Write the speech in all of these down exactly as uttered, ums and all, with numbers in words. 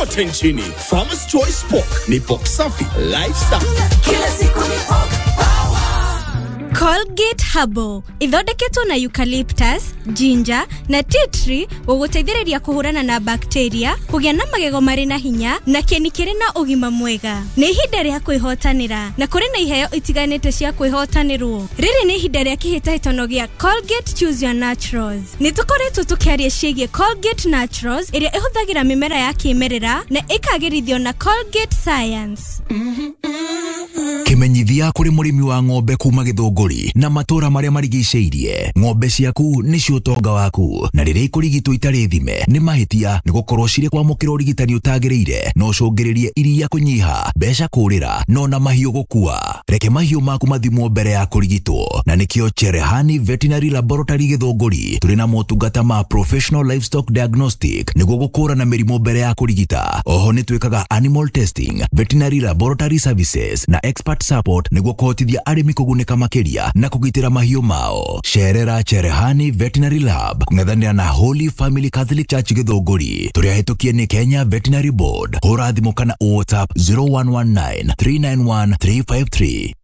kote nchini. Farmers Choice Pork ni pork safi, life safi. Kila siku ni pork power. Colgate Herbal ithondeketwo na eucalyptus, ginger na tea tree gũgũteithĩrĩria kũhũrana na bacteria, kũgĩa na magego marĩ na hinya na kĩni kĩrĩ na ũgima mwega. Nĩ ihinda rĩa kwĩhotanĩra na kũrĩ na iheo itiganĩte cia kwĩhotanĩrwo. Rĩrĩ nĩ ihinda rĩa kĩhĩtahĩtano gĩa Colgate Choose Your Naturals. Nĩ tũkoretwo tũkĩaria ciĩgiĩ Colgate Naturals ĩrĩa ĩhũthagĩra mĩmera ya kĩmerera na ĩkagĩrithio na Colgate Science. Kimenyithia kũrĩ mũrĩmi wa ng'ombe kuma Gĩthũngũri na matũra marĩa marigicĩirie. Ng'ombe ciaku nĩcio ũtonga waku, na rĩrĩa ikũrigitwo itarĩ thime nĩ mahĩtia, nĩ gũkorwo cirĩ kwamũkĩra ũrigitani ũtagĩrĩire no ũcũngĩrĩrie iria kũnyiha, mbeca kũrĩra no na mahiũ gũkua. Reke mahiũ maku mathimwo mbere ya kũrigitwo, na nĩkĩo Cherehani Veterinary Laboratory Gĩthũngũri tũrĩ na motungata ma Professional Livestock Diagnostic nĩguo gũkũrana mĩrimũ mbere ya kũrigita. Oho nĩ twĩkaga animal testing, veterinary laboratory services na expert support nĩguo kũhotithia arĩmi kũgunĩka makĩria na kũgitĩra mahiũ mao. Cerera Cherehani Veterinary Lab kũng'ethanĩra na Holy Family Catholic Church Gĩthũngũri. Tũrĩ ahĩtũkie nĩ Kenya Veterinary Board. Hũra thimũ kana WhatsApp zero one one nine three nine one three five three.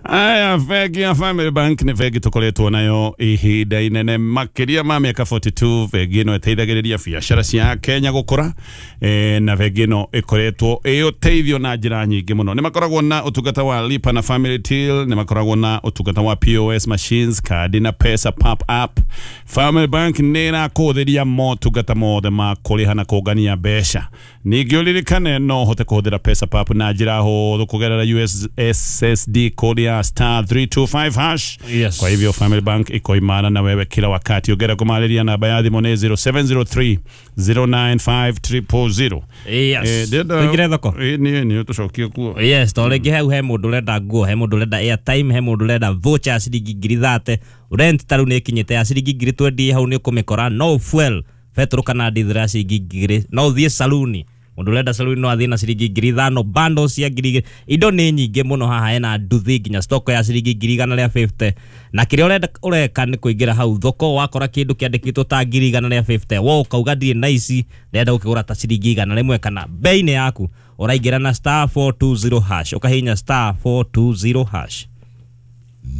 Aya, bengi ya Family Bank nĩ bengi tũkoretwo nayo ihinda inene makĩria ma mĩaka forty two. Bengi ĩno ĩteithagĩrĩria biacara cia Kenya gũkũra, e, na bengi ĩno ĩkoretwo ĩ ũteithio na njĩra nyingĩ mũno. Nĩ makoragwo na ũtungata wa Lipa na Family Till, nĩ makoragwo na ũtungata wa P O S machines, kadi na pesa pop up. Family Bank nĩ ĩrakũhũthĩria motungata mothe ma kũrĩha na kũngania mbeca. Ningĩ ũririkane no ũhote kũhũthĩra pesa pop na njĩra hũthũ kũgerera U S S S D code ya star three two five hash. Yes. Kwa hivyo Family Bank iko imara na wewe kila wakati. Ugera kumaliria namba ya thimũ nĩ zero seven zero three zero nine five triple zero. Yes. Tuingire thoko. Eh, ni ni tucokie kuo. Yes, to rĩngĩ hau he mũndũ ũrenda nguo, he mũndũ ũrenda airtime, he mũndũ ũrenda voucher ya ciringi ngiri thate. Rent ta rĩu nĩ ĩkinyĩte ya ciringi ngiri twenty hau nĩ ũkũmĩkora. No fuel, petrol kana diesel ya ciringi ngiri. No ũthiĩ saluni. Mundu urenda saluni no athie na ciringi ngiri ithano, bundles cia ngiri igĩrĩ. Indo nĩ nyingĩ mũno haha, hena nduthi nginya stock ya ciringi ngiri igana rĩa fifty. Na kĩrĩa ũrenda ũreka nĩ kũingĩra hau thoko, wakora kĩndũ kĩandĩkĩtwo ta ngiri igana rĩa fifty, wo ũkauga ndirĩ na ici, ndĩrenda gũkĩgũra ta ciringi igana rĩmwe kana bei-inĩ yaku. Ũraingĩra na star four two zero hash, ũkahihinya star four two zero hash.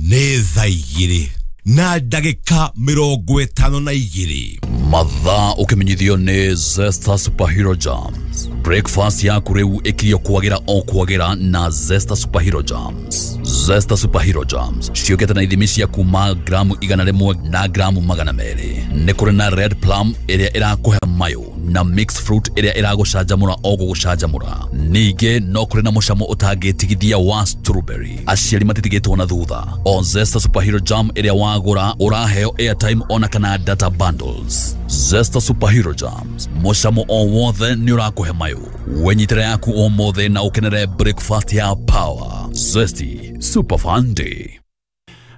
Nĩ thaa igĩrĩ na ndagĩka mĩrongo ĩtano na igĩrĩ. Mathaa ũkĩmenyithio nĩ Zesta Superhero Jams. Breakfast yaku rĩu ĩkirio kwagĩra o kwagĩra na Zesta Superhero Jams. Zesta Superhero Jams ciũkĩte na ithimi cia kuma gramu igana rĩmwe na gramu magana merĩ. Nĩ kũrĩ na red plum ĩrĩa ĩrakũhe mayo na mixed fruit ĩrĩa ĩragũcanjamũra o gũgũcanjamũra. Ningĩ no kũrĩ na mũcamo ũtangĩtigithia wa strawberry. Aciari matitigĩtwo na thutha. O Zesta Superhero Jam ĩrĩa wagũra ũraheo airtime ona kana data bundles. Zesta Superhero Jams, mũcamo o wothe nĩ ũrakũhe mayo. Wenyitĩra yaku ũmũthĩ na ũkenere breakfast ya power. Zesty Super Fun Day.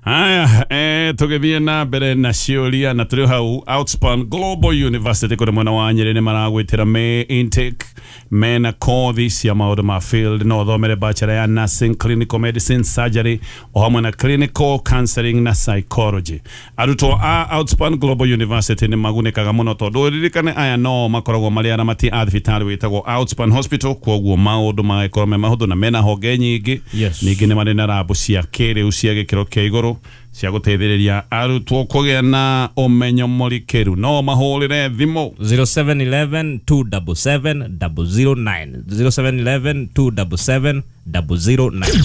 Haya, eh, tũgĩthiĩ na mbere na ciũria na tũrĩ hau Outspan Global University kũrĩ mwena wa Nyĩrĩ nĩ maragwĩtĩra May intake, mena kothi cia maũndũ ma field, no ũthomere bachelor ya nursing, clinical medicine, surgery o hamwe na clinical counseling na psychology. Arutwo a Outspan Global University nĩ magunĩkaga mũno tondũ ũririkane aya no makoragwo marĩ aramati a thibitarĩ wĩtagwo Outspan Hospital, kwoguo maũndũ magĩkorwo me mahũthũ na mena honge nyingĩ. Yes. Ningĩ nĩ marĩ na rabu cia kĩrĩu cia gĩkĩro kĩa igũrũ cia gũteithĩrĩria arutwo kũgĩa na ũmenyo mũrikĩru. No mahũrĩre thimũ zero seven eleven two double seven double zero nine, zero seven eleven two double seven double zero nine.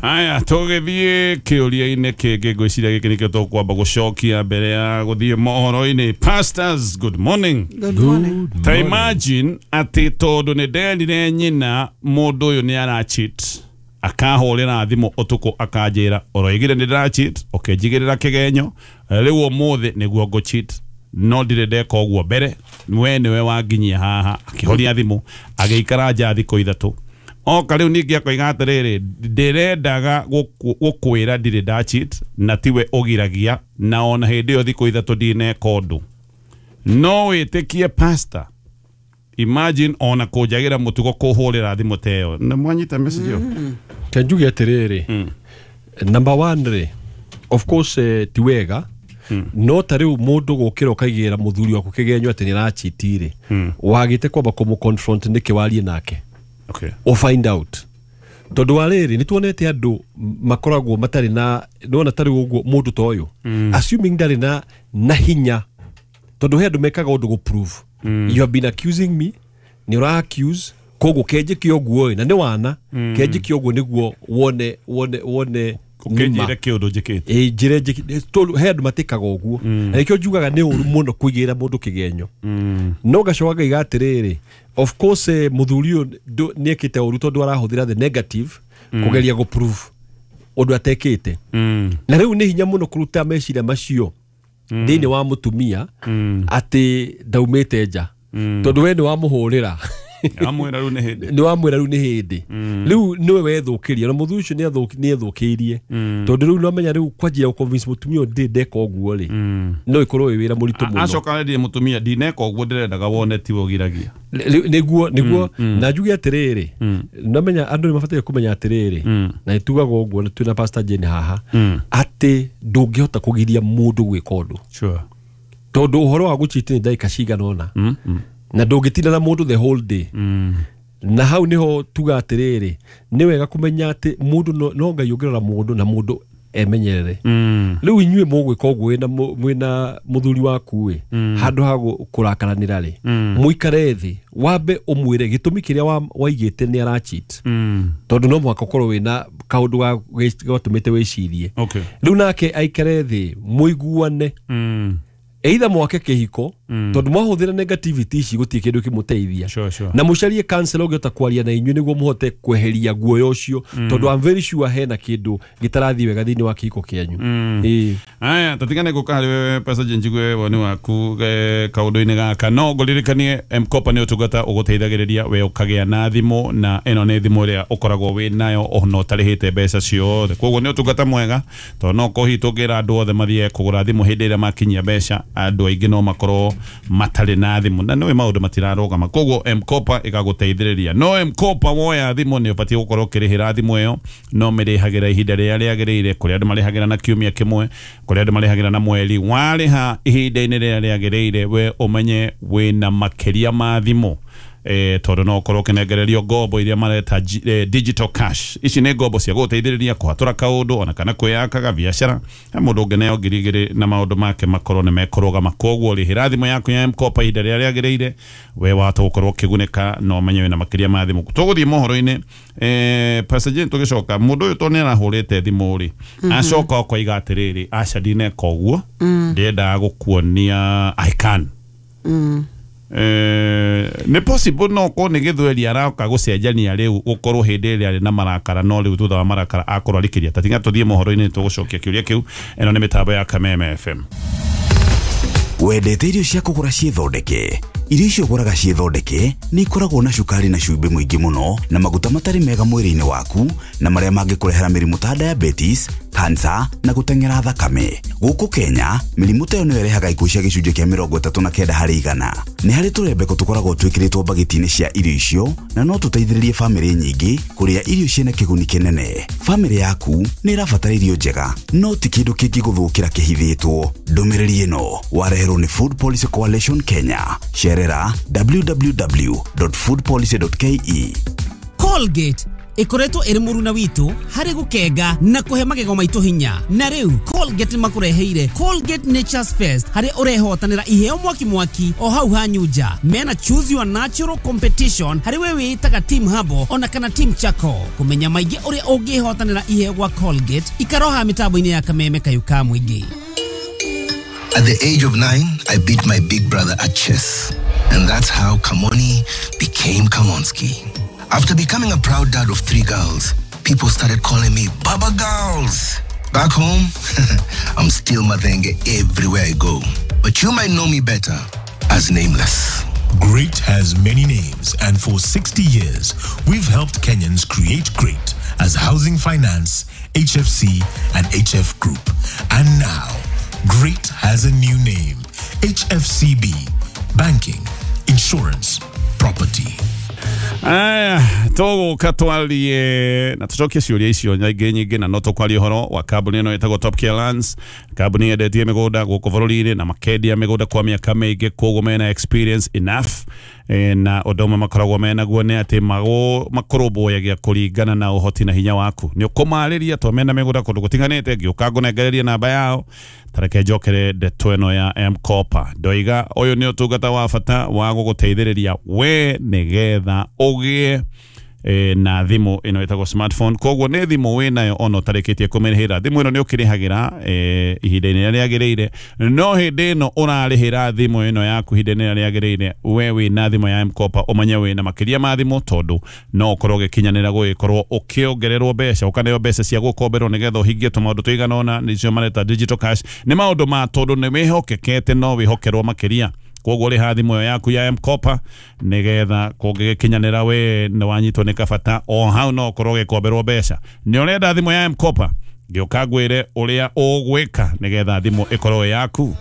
Aya, tũgĩthiĩ kĩũria-inĩ kĩngĩ, ngwĩciria gĩkĩ nĩkĩo tũkwamba gũcokia mbere ya gũthiĩ mohoro-inĩ. Pastors, good morning. Good morning. Ta imagine atĩ tondũ nĩ nderire nyina mũndũ ũyũ nĩ aracheat, akahũrĩra thimũ ũtukũ akanjĩra ũroigire nĩ ndĩracheat, ũkĩnjigĩrĩra kĩgenyo, rĩu ũmũthĩ nĩguo ngũcheat, no ndirĩ ndeka ũguo mbere, we nĩwe wanginyia haha. Akĩhoria thimũ agĩikara nja thikũ ithatũ. Oka rĩu ningĩ akoiga atĩrĩrĩ, ndĩrendaga gũkwĩra ndirĩ ndacheat na tiwe ũgiragia, na ona hĩndĩ ĩyo thikũ ithatũ ndineka ũndũ. No wĩtĩkie pastor, imagine ona kũnjagĩra mũtugo kũhũrĩra thimũ ta ĩyo. Nĩ mwanyita message ĩyo? Ke njuge atĩrĩrĩ, number one rĩ, of course eh, ti wega No ta rĩu mũndũ gũkĩra ũkaigĩra mũthuri waku kĩgenyo atĩ nĩ arachiti rĩ, wagĩte kwamba kũmũ confront nĩkĩ warie nake. Okay. O find out. Tondũ wa rĩrĩ nĩ tuonete andũ makoragwo matarĩ na nĩwona tarĩ ũguo mũndũ ta ũyũ assuming ndarĩ na na hinya, tondũ he andũ mekaga ũndũ gũ prove you have been accusing me, nĩ ũra accuse koguo kenjĩke ũguo ĩ, na nĩ wana kenjĩke ũguo nĩguo wone wone wone Ũkĩnjĩre kĩũndũ njĩkĩte. Ĩ njĩre njĩkĩte tondũ he andũ matĩkaga ũguo, na nĩkĩo njugaga nĩ ũru mũno kũigĩra mũndũ kĩgenyo. No ngacoka ngaiga atĩrĩrĩ, of course eh, mũthuri ũyũ nĩ ekĩte ũru tondũ arahũthĩra the negative kũgeria gũ prove ũndũ atekĩte. Na rĩu nĩ hinya mũno kũruta meciria macio thĩinĩ wa mũtumia atĩ ndaumĩte nja, tondũ we nĩ wamũhũrĩra amwĩra rĩu nĩ hĩndĩ, nĩ wamwĩra rĩu nĩ hĩndĩ, rĩu nĩwe wethũkĩria na mũthuri ũcio nĩ ethũkĩirie, tondũ rĩu nĩwamenya rĩu kwanjia gũ-convince mũtumia ũyũ ndĩ ndeka ũguo rĩ, no ĩkorwo ĩ wĩra mũritũ mũno. Acoka arendie mũtumia ndineka ũguo ndĩrendaga wone tiwe ũgiragia. Nĩguo nĩguo na njuge atĩrĩrĩ, nĩwamenya andũ nĩ mabataire kũmenya atĩrĩrĩ, na nĩtugaga ũguo na twĩna Pastor Jane haha, atĩ ndũngĩhota kũgiria mũndũ gwĩka ũndũ. Sure. Tondũ ũhoro wa gũchiti nĩ ndagĩka cigana ũna, na ndũngĩtinda na mũndũ the whole day. Na hau niho tuga atĩrĩrĩ, nĩ wega kũmenya atĩ mũndũ no Ngai ũngĩrora mũndũ na mũndũ emenyerere. Rĩu inyuĩ mũgwĩka ũguo mwĩna mũthuri waku ĩ, handũ ha kũrakaranĩra rĩ, mũikare thĩ wambe ũmwĩre gĩtũmi kĩrĩa waigĩte nĩ aracheat, tondũ no mũhaka ũkorwo wĩna kaũndũ gatũmĩte wĩcirie. Rĩu nake aikare thĩ mũiguane, either mwake kĩhiko, tondũ mwahũthĩra negativity ici gũtirĩ kĩndũ kĩmũteithia. Sure, sure. Na mũcarie counselor ũngĩhota kwaria na inyuĩ nĩguo mũhote kweheria guoya ũcio, tondũ I'm very sure hena kĩndũ gĩtarathiĩ wega thĩinĩ wa kĩhiko kĩanyu. Ĩĩ. Aya, tũtigane gũka harĩ wewe Pastor Jane njigue woni waku kaũndũ-inĩ gaka. No ngũririkanie M-Kopa nĩ ũtungata ũgũteithagĩrĩria we ũkagĩa na thimũ, na ĩno nĩ thimũ ĩrĩa ũkoragwo wĩ nayo ona ũtarĩhĩte mbeca ciothe. Koguo nĩ ũtungata mwega, tondũ no korwo hihi tũngĩra andũ othe mathiĩ kũgũra thimũ hĩndĩ ĩrĩa makinyia mbeca, andũ aingĩ no makorwo matarĩ na thimũ na nĩũĩ maũndũ matirarũgama. Koguo M-Kopa ĩgagũteithĩrĩria. No M-Kopa woya thimũ nĩ ũbatiĩ gũkorwo ũkĩrĩhĩra thimũ ĩyo, no mĩrĩhagĩra ihinda rĩrĩa rĩagĩrĩire. Kũrĩ andũ marĩhagĩra na kiumia kĩmwe, kũrĩ andũ marĩhagĩra na mweri. Warĩha ihinda-inĩ rĩrĩa rĩagĩrĩire, we ũmenye wĩna makĩria ma thimũ, eh tondũ no ũkorwo ũkĩnengererio ngombo iria mareta eh, digital cash. Ici nĩ ngombo cia gũgũteithĩrĩria kũhatũra kaũndũ ona kana kwĩyakaga biacara. He mũndũ ũngĩneo ngiri igĩrĩ na maũndũ make makorwo nĩ mekũrũgama. Koguo rĩhĩra thimũ yaku ya M-Kopa ihinda rĩrĩa rĩagĩrĩire, we wahota gũkorwo ũkĩgunĩka na ũmenye wĩna makĩria ma thimũ. Tũgũthiĩ mohoro-inĩ, eh Pastor Jane, tũgĩcoka mũndũ ũyũ tondũ nĩ arahũrĩte thimũ rĩ, acoka ũkoiga atĩrĩrĩ, aca ndineka ũguo, ndĩrendaga gũkuonia I can. Eh, nĩ possible no korwo nĩ gĩthweri arauka gũcenjania rĩu gũkorwo hĩndĩ ĩrĩa arĩ na marakara, no rĩu thutha wa marakara akorwo arikĩria. Ta tiga tũthiĩ mohoro-inĩ tũgũcokia kĩũria kĩu. Ĩno nĩ mĩtambo ya Kameme F M. Wendete irio cia kũgũra ciĩthondeke? Irio icio ũgũraga ciĩthondeke nĩ ikoragwo na cukari na cumbĩ mũingĩ mũno na maguta matarĩ mega mwĩrĩ-inĩ waku, na marĩa mangĩkũrehera mĩrimũ ta diabetes, cancer na gũteng'era thakame. Gũkũ Kenya, mĩrimũ ta ĩyo nĩyo ĩrehaga ikuũ cia gĩcunjĩ kĩa mĩrongo ĩtatũ na kenda harĩ igana. Nĩ harĩ tũrembeko tũkoragwo twĩkĩrĩtwo mbagiti-inĩ cia irio icio, na no tũteithĩrĩrie bamĩrĩ nyingĩ kũrĩa irio ciĩna kĩguni kĩnene. Bamĩrĩ yaku nĩ ĩrabatara irio njega, no ti kĩndũ kĩngĩgũthũkĩra kĩhithĩtwo. Ndũmĩrĩri ĩno wareherwo nĩ Food Policy Coalition Kenya. Cerera w w w dot food policy dot k e. Colgate ikoretwo ĩrĩ mũruna witũ harĩ gũkenga na kũhe magego maitũ hinya. Na rĩu Colgate makũreheire Colgate Nature's Fest, harĩ ũrehotanĩra iheo mwaki mwaki o hau hanyunja. Mena choose your natural competition harĩ we wĩtaga Team Habo ona kana Team Chako. Kũmenya maingĩ ũrĩa ũngĩhotanĩra iheo gwa Colgate, ikaroha mĩtambo-inĩ ya Kameme kayu ka mũingĩ. At the age of nine, I beat my big brother at chess. And that's how Kamoni became Kamonski. After becoming a proud dad of three girls, people started calling me Baba Girls. Back home, I'm still Mathenge everywhere I go. But you might know me better as Nameless. Great has many names, and for sixty years, we've helped Kenyans create great as Housing Finance, H F C, and H F Group. And now, Great has a new name, H F C B, Banking, Insurance, Property. Aya, Tũgũka twarie na tũcokie ciũria icio nyingĩ nyingĩ, na no tũkwaria ũhoro wa kambuni ĩno ĩtagwo Top Care Lands, kambuni yendetie mĩgũnda gũkũ bũrũri-inĩ na makendia mĩgũnda kwa mĩaka mĩingĩ, koguo mena experience enough. E, na ũndũ ũmwe makoragwo menaguo nĩ atĩ makũrũmbũyagia kũringana na ũhoti na hinya waku. Nĩ ũkũmarĩria to mena mĩgũnda kũndũ gũtiganĩte, ngĩũka ngũnengererie namba yao. Tareke njokere ndeto ĩno ya M-Kopa. Ndoiga ũyũ nĩ ũtungata wa bata wa gũgũteithĩrĩria we nĩgetha ũgĩe e, na thimũ ĩno ĩtagwo smartphone. Koguo nĩ thimũ wĩnayo ona ũtarĩkĩtie kũmĩrĩhĩra. Thimũ ĩno nĩ ũkĩrĩhagĩra e, ihinda-inĩ rĩrĩa rĩagĩrĩire, no hĩndĩ ĩno ũrarĩhĩra thimũ ĩno yaku ihinda-inĩ rĩrĩa rĩagĩrĩire, we wĩna thimũ ya M-Kopa ũmenye wĩna makĩria ma thimũ, tondũ no ũkorwo ũgĩkinyanĩra gũgĩkorwo ũkĩongererwo mbeca, ũkaneo mbeca cia gũkomberwo nĩgetha ũhingie tũmaũndũ tũigana ũna, nĩcio mareta digital cash. Nĩ maũndũ ma tondũ nĩ wĩhokekete no wĩhokerwo makĩria. Koguo rĩha thimũ ĩyo yaku ya M-Kopa nĩgetha kũngĩgĩkinyanĩra we nĩ wanyitwo nĩ kabata, o hau no ũkorwo ũgĩkomberwo mbeca. Nĩ ũrenda thimũ ya M-Kopa, ngĩũka ngwĩre ũrĩa ũgwĩka nĩgetha thimũ ĩkorwo yaku.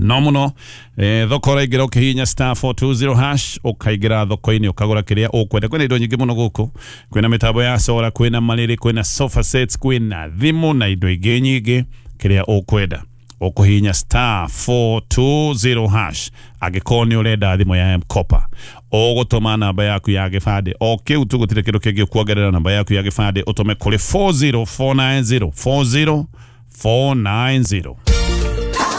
No mũno eh, thoko ũraingĩra ũkĩhihinya star four two zero hash, ũkaingĩra thoko-inĩ ũkagũra kĩrĩa ũkwenda. Kwĩna indo nyingĩ mũno gũkũ, kwĩna mĩtambo ya solar, kwĩna marĩrĩ, kwĩna sofa sets, kwĩna thimũ na indo ingĩ nyingĩ. Kĩrĩa ũkwenda ũkũhihinya star four two zero hash. Angĩkorwo nĩ ũrenda thimũ ya M-Kopa, ũgũtũma namba yaku ya gĩbandĩ o kĩu tu, gũtirĩ kĩndũ kĩngĩ ũkuongerera. Namba yaku ya gĩbandĩ ũtũme kũrĩ four zero four nine zero, four zero four nine zero.